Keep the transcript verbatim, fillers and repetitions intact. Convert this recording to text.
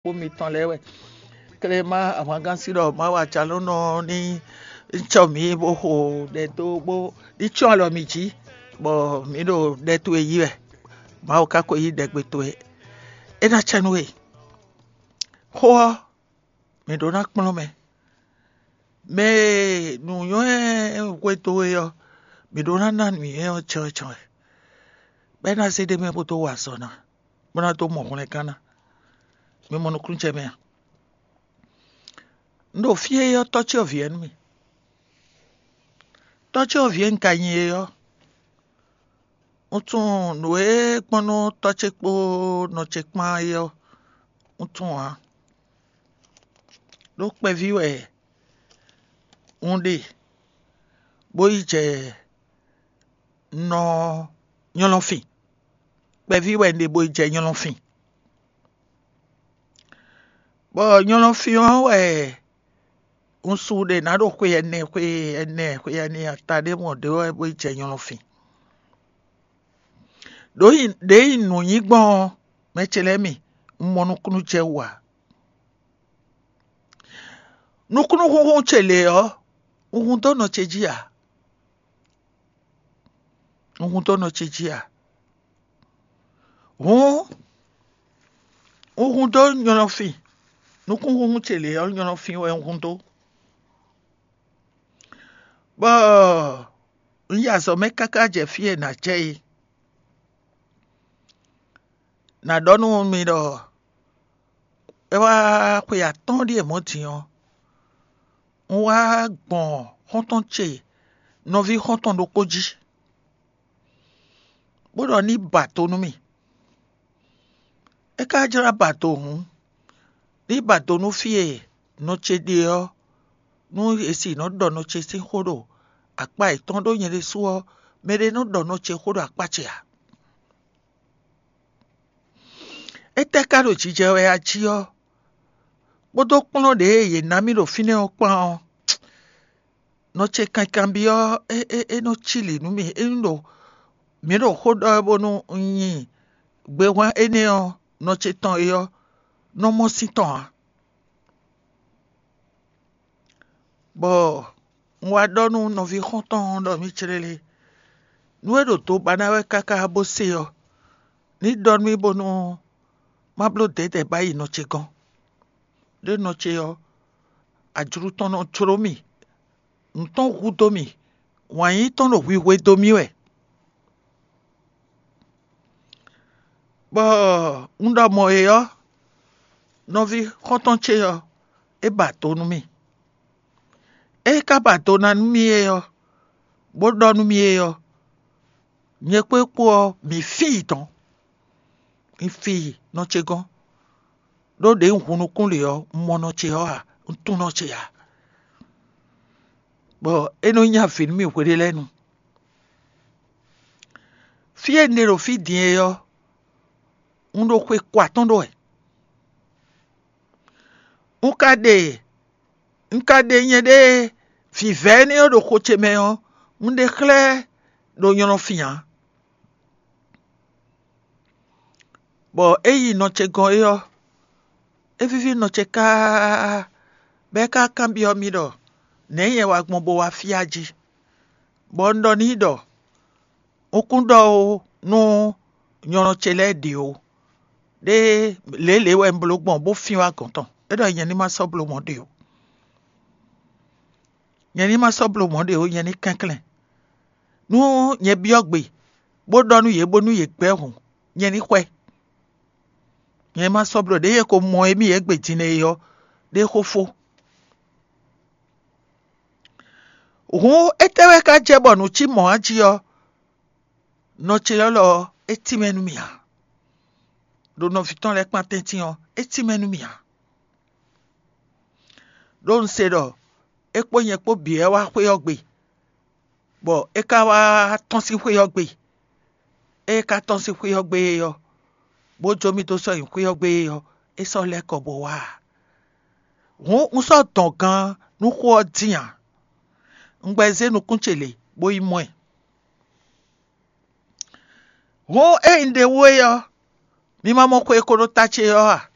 kpó mitɔn lɛ́ɛ wɛ. Klema ahwangán sí ɖɔ Mawu acalónɔ ní cɔ mǐ bó xo ɖɛ dó bó ní cyɔ́n alɔ mì jí, bɔ mǐ ɖo ɖɛ towe yí wɛ. Mawu ka ko yí ɖɛgbe towe. É ná cɛ nú we. Xó ɔ́, mǐ ɖó ná kplɔ́n mɛ. Mɛ e nǔnywɛ́ hwedó we ɔ́, mǐ ɖó ná ná nǔnywɛ́ ɔ́ cɛ́ cɛ́ wɛ, bɔ é ná zé ɖ'é mɛ bó dó wa azɔ̌ ná, bó ná dó mɔ hwlɛngán ná. Mi mɔ nukúnnú jɛ mɛ a? Un ɖo fí e ɔ́, tɔ́ ce ɔ́ vǐ wɛ nú mì. Tɔ́ ce ɔ́ vǐ e un ka nyí é ɔ́, un tunwun nǔ e gbɔn nú tɔ́ ce kpó nɔ ce kpán é ɔ́, un tunwun ǎ. Ɖó kpɛví wɛ un ɖe, bó yi jɛ nɔ nylɔ́fin. Kpɛví wɛ un ɖe bó yi jɛ nylɔ́fin. Bɔ nylɔ́fin ɔ́ wɛ un su ɖe nǎ ɖo xwe ɛnɛ xwe ɛnɛ xwe ɛnɛ ata ɖé mɔ ɖě wɛ bó yi jɛ nylɔ́fin. Ɖǒ yi ɖě yi nǔ nyi gbɔn ɔ́, mɛ ce lɛ́ɛ mi, un mɔ nukúnnú jɛ wú ǎ. Nukúnnú xúnxún ce lě ɔ́, un hun dó nɔ ce jí ǎ. Un hun dó nɔ ce jí ǎ. Hǔn un hun dó nylɔ́fin. Nukúnxúnxún ce lě ɔ́, nylɔ́fin wɛ un hun dó. Bɔ un yi azɔ̌ mɛ káká jɛ fí e nǎ jɛ é. Nǎ ɖɔ nú mi ɖɔ é wá xwe atɔ́ɔ́n ɖíe mɔ̌ din ɔ́, un wá gbɔn xɔ́ntɔn ce nɔví xɔ́ntɔn ɖokpó jí, bó ɖɔ ní ba do nú mì. É ka jlá ba do hǔn, ní ba do nú fí e nɔ ce ɖe ɔ́, nú è sì nɔ ɖɔ nɔ ce sín xó ɖo akpá yětɔn, ɖó nyɛ ɖésú ɔ́, mɛɖé nɔ ɖɔ nɔ ce xó ɖo akpá ce ǎ. Étɛ́ ka ɖo jijɛ wɛ a jí ɔ́, kpódó kplɔ́n ɖě e yě ná mì ɖo fínɛ́ ɔ́ kpán ɔ́, nɔ ce kankanbyɔ́ ɔ́, é é é nɔ cí lǐ nú mì. É nyí ɖo mǐ ɖo xó ɖɔ wɛ bónú un nyi gbehwan énɛ́ ɔ́, nɔ ce tɔn é ɔ́ nɔ mɔ sín tɔn ǎ. Bɔ un wá ɖɔ nú nɔví xɔ́ntɔn ɔ́ ɖɔ mì cléle, nú é ɖo do ba ná wɛ káká bó se ɔ́, ní ɖɔ nú mì bónú má bló dɛ̌dɛ̌ ba yi nɔ ce gɔ́n. Ɖó nɔ ce ɔ́, ajlu tɔn nɔ jló mì, nǔ tɔn hudó mì, wǎn yíyí tɔn ɖo hwihwe dó mì wɛ. Bɔ un ɖɔ mɔ̌ é ɔ́, nɔví xɔ́ntɔn ce ɔ́, é ba do nú mì. É ka ba do ná nú mì é ɔ́, bó ɖɔ nú mì é ɔ́, nyɛ kpó é kpó ɔ́, mǐ fí yi dɔ̌n. Un fi yi nɔ ce gɔ́n, ɖó ɖě un hun nukún lě ɔ́, un mɔ nɔ ce ɔ́ ǎ, un tunwun nɔ ce ǎ. Bɔ é nɔ nyi avǐ nú mì hweɖé lɛ́ɛ nu. Fí e un ɖe ɖo fí din é ɔ́, un ɖo xwe ko atɔ́ɔ́n ɖó wɛ. Un ka ɖe un ka ɖe nyɛɖée vǐvɛ́ énɛ́ ɔ́ ɖo xo ce mɛ ɔ́, un ɖe xlɛ́ ɖo nylɔ́fin ǎ. Bɔ é yi nɔ ce gɔ́n é ɔ́, é víví nɔ ce káá, bɔ é ka kanbyɔ́ mì ɖɔ nɛ̌ nyɛ wa gbɔn bó wá fí a jí? Bɔ un ɖɔ n'i ɖɔ un kún ɖɔ ó nú nylɔ́ ce lɛ́ɛ ɖě ó. Ɖé lělě wɛ un bló gbɔn bó fín wá gɔ̌n tɔn. É ɖɔ nyɛ ní ma sɔ́ bló mɔ̌ ɖě ó. Nyɛ ní ma sɔ́ bló mɔ̌ ɖě ó, nyɛ ní kɛnklɛ́n. Nú nyɛ byɔ́ gbe, bó ɖɔ nú yě bónú yě gbɛ́ hǔn, nyɛ ní xwɛ. Nyɛ ma sɔ́ bló ɖěe ko mɔ émí yě gbe din é ɔ́, ɖé xó fó. Hǔn étɛ́ wɛ ka jɛ bɔ nǔ cí mɔ̌ a jí ɔ́, nɔ ce élɔ́ ɔ́, é tínmɛ nú mì ǎ. Ɖo nɔví tɔn lɛ́ɛ kpán tɛ́ntin ɔ́, é tínmɛ nú mì ǎ. Ɖó un se ɖɔ é kpó nyɛ kpó bǐ wɛ wá xwé ɔ́ gbe, bɔ é ka wá tɔ́n sín xwé ɔ́ gbe. Ée é ka tɔ́n sín xwé ɔ́ gbe é ɔ́, bó jó mì dó sɔ́ nyi xwé ɔ́ gbe é ɔ́, é sɔ́ lɛ́ kɔ bó wá ǎ. Hǔn un sɔ́ dɔn gan nú xó ɔ́ dín ǎ. Un gbɛ zé nukún ce lě, bó yi mɔ ɛ. Hǔn ée un ɖe wú é ɔ́, mi ma mɔ xwe e ko ɖo ta ce ɔ́ a?